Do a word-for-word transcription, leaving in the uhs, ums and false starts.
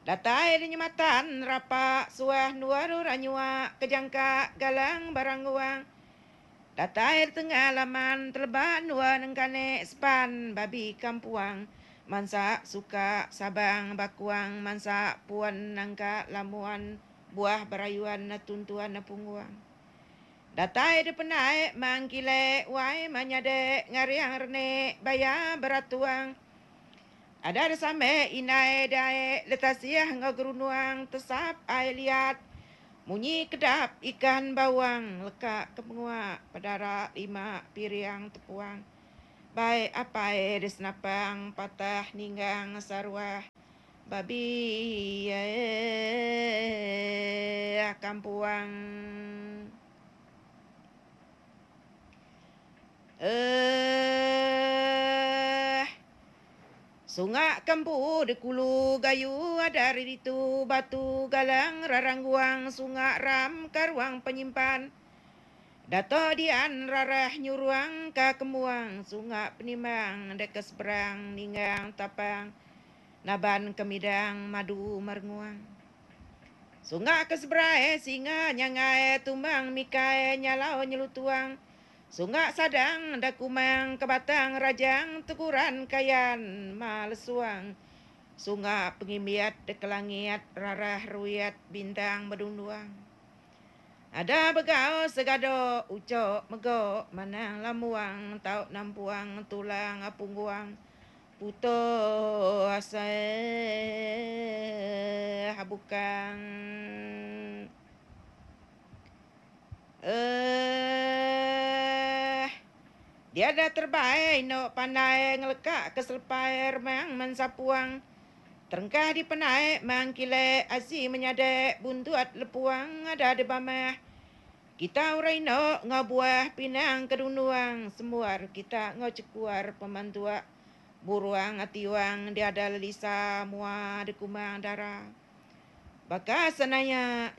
Datai di nyematan rapa suah endur orang nyua kejangka galang barang guang. Datai di tengah laman teleba endur nengkane sepan babi kampuang mansa suka sabang bakuang mansa puan nangka lamuan buah berayuan tuntuan pungguang. Datai di penai mangkile wai manyade ngariang rene baya beratuang. Ada same inai dae letasiah ngau gerunuang tesap ai liat munyi kedap ikan bawang leka ke pengua pedara lima piriang tepuang bai apai disenapang patah ninggang saruah babi kampuang. Eh Sunga kempu di kulu gayu ada ditu batu galang rarangguang sunga ram karuang penyimpan dato dian rarah nyuruang ka kemuang sunga penimang deka seberang ninggang tapang naban kemidang madu merenguang. Sunga ke seberai singa nyangai tumbang mikai nyalau nyelutuang sunga sadang dakumang ke batang rajang teguran kayan malesuang sunga pengimbiat dekelangit rarah ruiat bintang bedunduang. Ada begau segado ucok megok manang lamuang tau nampuang tulang apungguang puto asai habukang. Eh dia ada terbaik no pandai ngelekak ke selepai remang mensapuang terengkah di penai mangkile asi menyadek buntuat lepuang ada di bamah kita urai no ngabuah pinang kedunduang semuar kita ngau cekuar pemantua buruang atiwang dia ada lelisa mua di kumang darah baka senaya.